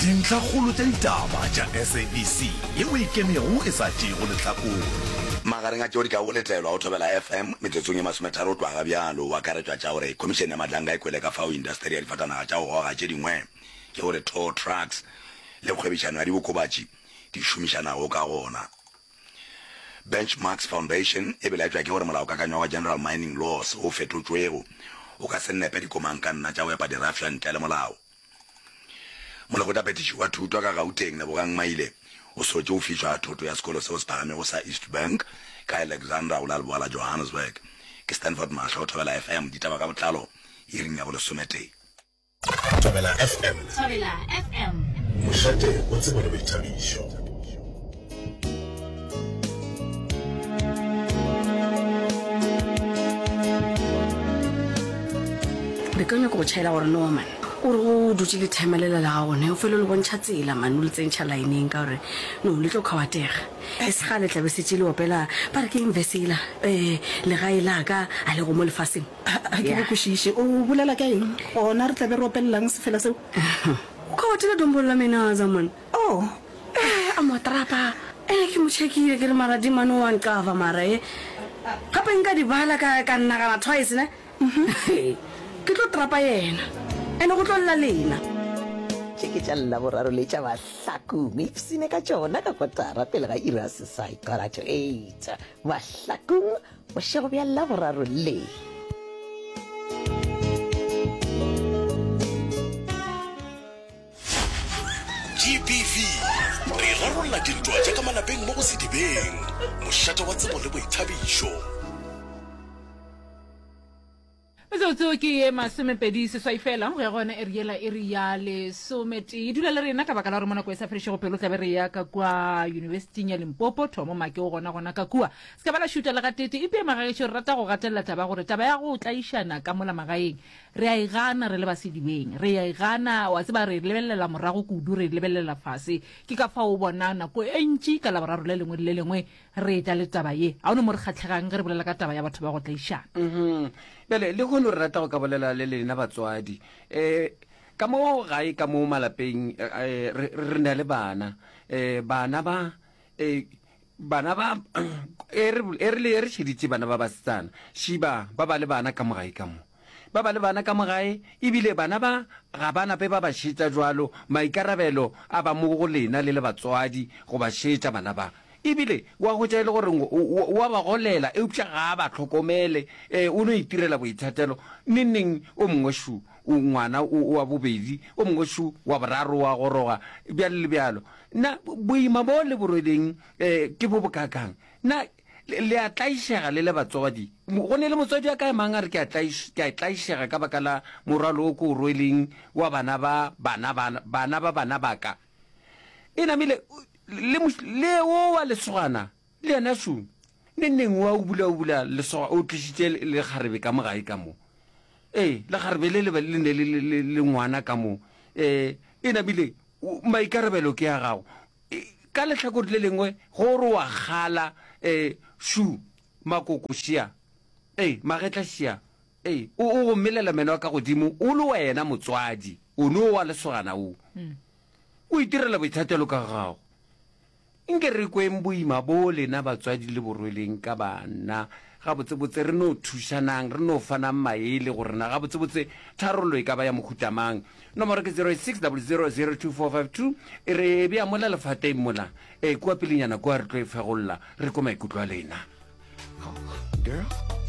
Dintlhakgolo tša ditaba tša SABC yeo e ikemego e sa tšeego lehlakore. Magareng a tšeo di kago letelwa go Thobela FM metsotsong ye masometharo go tloga ga bjalo go akaretšwa tša gore Khomišene ya Madlanga e kwele ka fao indasteri ya difatanaga tša go goga tše dingwe ke gore tow trucks le kgwebišano ya diokobatši di šomišanago ka gona. Benchmarks Foundation e belaetšwa ke gore molaokakanywa wa General Mining Laws wo fetotšwego o ka se nepe dikomangkanna tša go epa dirafša ntle le molao. Molekgotlaphethiši wa thuto ka Gauteng, Lebogang Maile, o sotše go fišwa thoto ya sekolo seo se phagamego sa East Bank ka Alexandra go la leboa la Johannesburg. Ke Stanford Mahlo, Thobela FM, ditaba ka botlalo iring ya bolesometee. Thobela FM. Thobela FM. Mošate wa tsebo le boithabišo. Re ka nyaka go tšhaela gore no man o re o dutše le timer lela la gago ne o fele o le bontšha tsela man o le tsentšha lineng ka gore no le tlo kgawatega e se gale tla be setše le opela ba re ke eng verse yela um legae la ka a lego mo lefaseng. Ga ke go kwešiše. O bolela ka eng? Gona re tla be re opelelang sefela seo? O kgawatile dombolo la menaza man. Oh. Eh, a mo trapa. Ene ke mo checkile ke re mara di mane wa nqava mara e. Gape nka di bala ka ka nagana twice ne. Ke tlo trapa yena. Ene go tlo lla lena. Tše ke tša Laboraro le tša Mahlakong. Ipsine ka tšona ka kotara pele ga iri ya seswai, quarter to eight. Mahlakong, bošego bja Laboraro le. GBV, Re rarolla dintwa tša ka malapeng mo go Sedibeng, mošate wa tsebo le boithabišo. Metsotso ke ye masomepedi seswai fela go ya go yona iri yela iri ya lesometee. Dula le rena ka baka la gore mo nako e sa fedišego pelo tlabe re ya ka kua yunibesiting ya Limpopo. Thomo Make o gona gona ka kua. Se ka ba la šuta le gatete. Ipee magagešo re rata go gatelela taba gore taba ya go tlaišana ka mola magaeng Re a e gana re le ba sedibeng. Re a e gana, wa tseba, re e lebelelela morago kudu, re e lebelelela fase. Ke ka fao o bona nako e ntši ka Laboraro le lengwe le le lengwe re etla le taba ye. Ga o no mo re kgahlegang ge re bolela ka taba ya batho ba go tlaišana. Mhm. Bjale, lehono re rata go ka bolela le lena batswadi. Um ka mo gae, ka mo malapeng, eh, re, re na le bana. Um bana ba, um Bana ba, e re, e re le, re šeditše bana ba basetsana, šiba, ba ba le bana ka mo gae ka mo. Ba ba le bana ka mo gae, ebile bana ba ga ba nape ba ba šetša bjalo, maikarabelo a ba mo go lena le le batswadi go ba šetša bana ba. Ebile wa hwetša e le gore o, o, o a ba golela, eupša ga a ba hlokomele, e, o no itirela boithatelo. Neng neng o mongwe šo, o, ngwana o, wa bobedi, o mongwe šo, wa boraro wa goroga, bjalo le bjalo. Na boima bo le bo rweleng ke bo bokaakang? Na le a tlaišega le le batswadi? Go ne le motswadi a ka emang a re, Ke a tlaišega ka baka la morwalo wo ke o rweleng wa bana ba bana ba bana ba bana ba ka. E namile le le wo wa lesogana le yena šo neng neng wa o bula o bula lesoga o tlišitše lekgarebe ka mo gae ka mo. Ee, lekgarebe le le le ne le le le ngwana ka mo. E namile Maikarabelo ke a gago. Ka lehlakore le lengwe, go re wa kgala, e, šu, makoko šia, e, magetla šia, e, o, o go melela meno a ka godimo, o le wena motswadi, o no wa lesogana o. O itirela boithatelo ka gago. Nke re kweng boima bo lena batswadi le bo rweleng ka bana. Gabotsebotse re no thušanang, re no fanang maele gore na gabotsebotse tharollo e ka ba ya mohuta mang. Nomoro ke 0860002452. E re bea mola lefateng mola, e kua pelenyana kua re tlo e fegolla, re kwe maikutlo a lena. Girl.